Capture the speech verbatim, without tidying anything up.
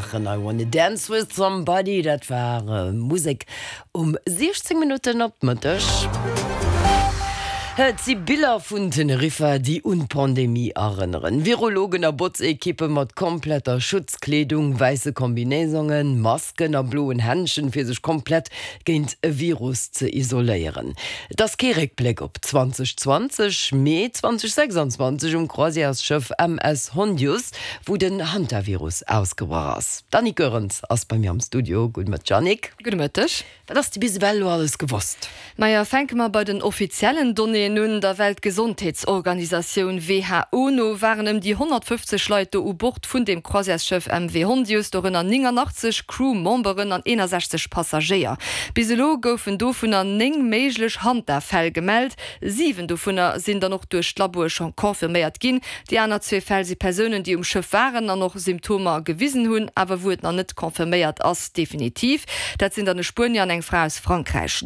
maachen. I wanna dance with somebody, dat war Musek um siechzéng Minutten op Mëtteg. Et si Biller vun Teneriffa, déi un d'Pandemie erënneren. Virologen a Botzekippe mat kompletter Schutzkleedung, wäisse Kombinéisongen, Masken a bloen Händschen, fir sech komplett géint e Virus ze isoléieren. Et ass kee Réckbléck op zweedausendzwanzeg, mee zweedausendsechsanzwanzeg um Croisièresschëff M S Hondius, wou den Hantavirus ausgebrach ass. D'Annick Goerens ass bei mir am Studio. Gudde Mëtteg, Annick. Gudde Mëtteg. Wat ass bis ewell elo alles gewosst? Maja, fänke mer bei den offiziellen Donnéeën un. Der Weltgesondheetsorganisatioun W H O no waren ëm déi honnertfëffzeg Leit do u Bord vun dem Croisièresschëff M V Hondius, dorënner nénganachtzeg Crew-Memberen an eenasechzeg Passagéier. Bis elo goufen dovunner néng méiglech Hanta-Fäll gemellt. Siwen dovunner sinn dann och duerch d'Laboe scho confirméiert ginn. Déi aner zwee Fäll si Persounen, déi um Schëff waren an och Symptomer gewisen hunn, awer wou et nach net confirméiert ass definitiv. Dat sinn dann e Spuenier an eng Fra aus Frankräich.